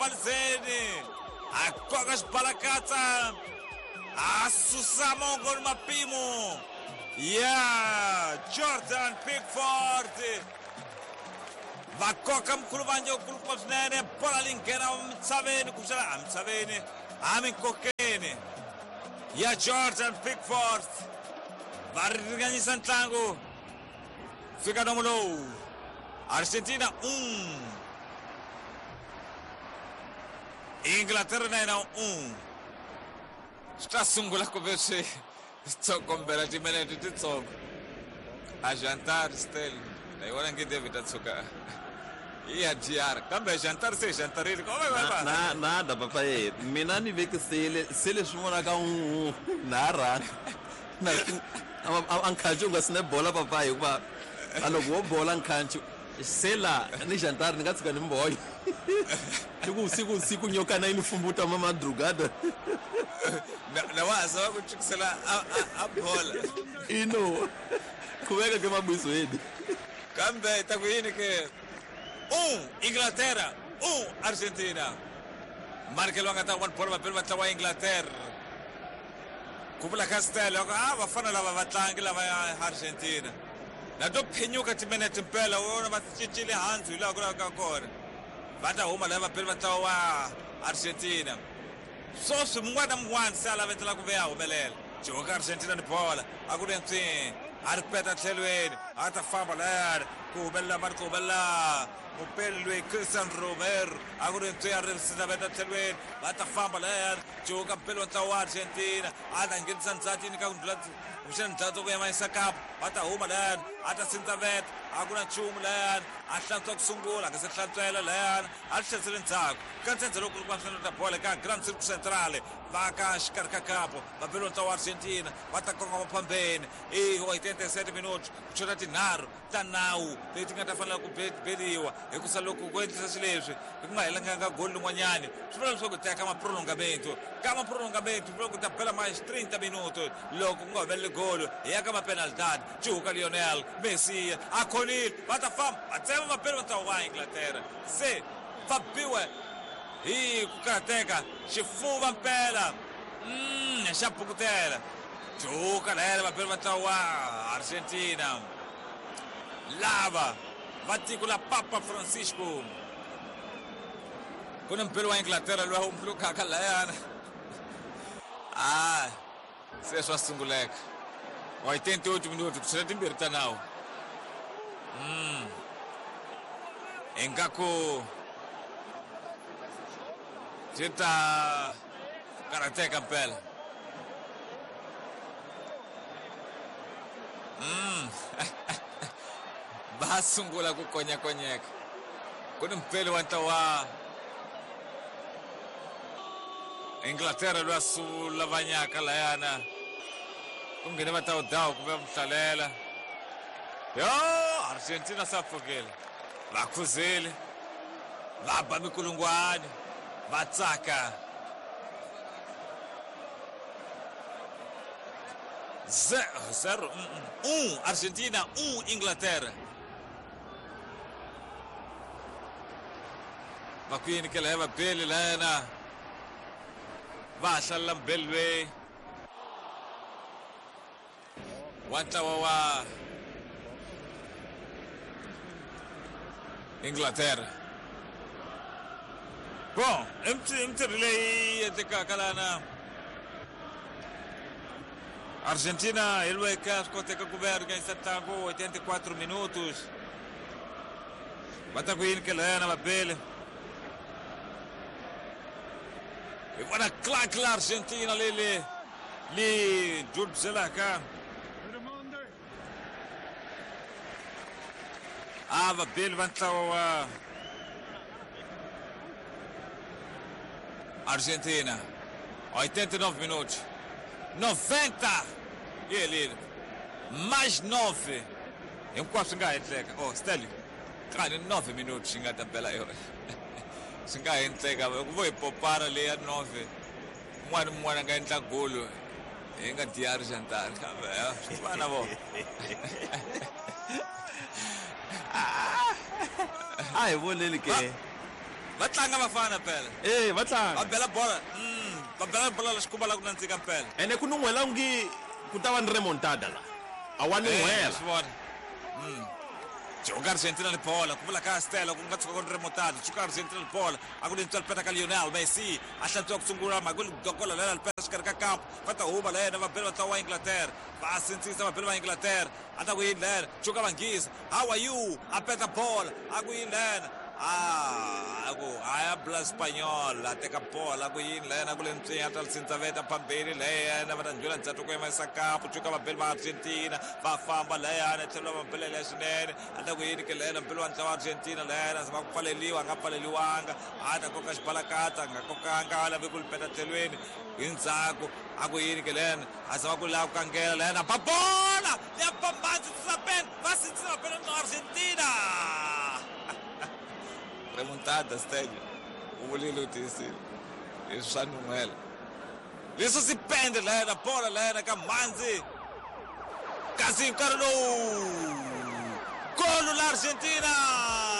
malizeni a koka xibalakatsa a susa mongo ni mapimo ya Jordan Pickford. Va koka mkhuluvanje wukulukumba swinene, bola leyi nghena misaveni, kumbexana a misaveni a minkokeni ya Jordan Pickford. Va ringanyisa ntlangu fika nomu lowu. Argentina 1, Inglaterra na yena 1. Swi ta sungula ku ve swi tsokombela timinete titsongo. A jantar still na yi vona nge David a tshuka i ya DR, kambe jantar se jantarile. Na nada papa ye mina ni vekisile se leswi vonaka u na rhanga na a nkhanci u nga sine bola papa, hikuva a loko wo bola nkhanci se la ni jantari ni nga tshuka ni mbonya siku siku siku nyokana yi ni fumbuta ma madrugada. Na wa ha zama ku chukisela a bola. Ino khuveka ke mabizweni. Kambe ta ku yini ke? 1 Inglaterra, 1 Argentina. Markelo a nga ta one bolo vapeli va ntlawa wa Inglaterra. Ku vula Castel a vafana lava vatlangi lava ya Argentina na to phenyuka timinete mpela wona va cincile handzu hi laha ku lavaka kona. Va ta huma lava vapeli va ntlawa wa Argentina. Sweswi mun'wana na mun'wana se a lavetela ku ve a humelela. Joka Argentina ni bola a ku ri ntswi a ri peta tlhelweni, a ta famba layani ku humelela mani, ku humelela mupeli loyi Christian Romero, a ku ri ntswi a ri sinaveta tlhelweni. Va ta famba layani Joka mpeli wa ntlawa wa Argentina a ta nghenisa ndzati yini ka ku ndlula kumbexana ndzati ku yamanyisa kapu. Va ta huma layani a ta sindzaveta, a ku na nchumu layani, a hlantswa ku sungula a nga se hlantswela layani, a ri tlherisele ndzhaku ka ntsendze lowu kulukumba swinene ta bola ka Grand Circo Centrale. Va ka xikarhi ka kapu vapeli wa ntlawa wa Argentina va ta kongoma phambeni i 87 minutos ku chota tinharhu ta nawu leti nga ta fanela ku beriwa, hikusa loko ku endlisa swileswi hi ku nga helanganga goli lin'wanyani swi vula leswaku ta ya ka maprolongamento. Ka maprolongamento swi vula ku ta bela mais 30 minuto, loko ku nga humeleli golo hi ya ka mapenalidad. Cuhuka Lionel Messi a khonile, va ta famba va tsema vapeli va ntlawa wa Inglaterra se va biwe hi ku karhateka xifuva mpela xa bukutela. Cuhuka layani vapeli va ntlawa wa Argentina lava va tiko la Papa Francisco. Ku ni mpeli wa Inglaterra loyi a humulukaka layana, a se swa sunguleka. 88 minuto ku chela timbirhi ta nawu. Ingaku swi ta karhateka mpela. Va sungula ku konyakonyeka. Ku ni mpeli wa ntlawa wa Inglaterra loyi a sulavanyaka layana, ku nghene va tawudawu ku va muhlalela. Yo Argentina sa pfukile, va khuzile, va ba mikulungwani, va tsaka. 0 1 Argentina, 1 Inglaterra. Va ku yini ke laya vabeli layana va ha hlalela mubeli loyi wa ntlawa wa Inglaterra. Bon, i mintirho leyi endlekaka lana. Argentina hi lweka swi koteka ku ve a ringanyisa ntlangu 84 minutos. Va ta ku yini ke layana vabeli? Hi vona Clark la Argentina leli li dudzelaka a vabeli va ntlawa wa Argentina. 89 minutos, 90 yi helile, mais 9 hinkwaswo swi nga endleka. Oh Stanley kani 9 minutos yi nga ta bela yona, swi nga endleka loko vo hi popara leya 9, un'wana ni un'wana a nga endla golo hi nga diyari xantani, kambe swi fana vo. A hi voneni ke. Va tlanga vafana phela. E va tlanga. Va bela bola. Va bela bola la xikumba la ku nandzika mpela. Ene ku nun'hwela ngi ku ta va ni remontada la. A wa nun'hwela. Swi vona. Joga Argentina ni bola, ku vula ka Stella ku nga tshuka ku ri remontada. Tshuka Argentina ni bola, a ku ni ntswalo peta ka Lionel Messi, a hlantswiwa ku sungula mhaka ku dokola lela peta xikarhi ka kampo. Va ta huma lena va bela va tlawa Inglaterra. Va sindzisa va bela va Inglaterra. A ta ku yini lena? Tshuka vanghisa. How are you? A peta bola. A ku yini lena? A ku habla español, a teka bola, a ku yini lena? Ku le ntswinya ta sindzaveta phambili leyena va ta ndlula ndzhaku ku yimisa kapu. Tshuka va beli va Argentina, va famba leyana tlhelo va belela swinene. A ta ku yini ke lena mbeli wa ntlawa Argentina leyena zama ku pfaleliwa, a nga pfaleliwanga. A ta koka xibalakatsa, a nga kokanga, a lavi ku li peta tlhelweni hi ndzhaku. A ku yini ke lena? A zama ku lava ku kangela leyena, ba bola ya pambanzi tsapen, va sindzisa va bela ntlawa Argentina. Remontada Stênio, u vulile u tiyisile leswi swa nun'hwela. Leswi swi pende lena bola lena ka mhandzi, kasi nkarhi lowu golo la Argentina.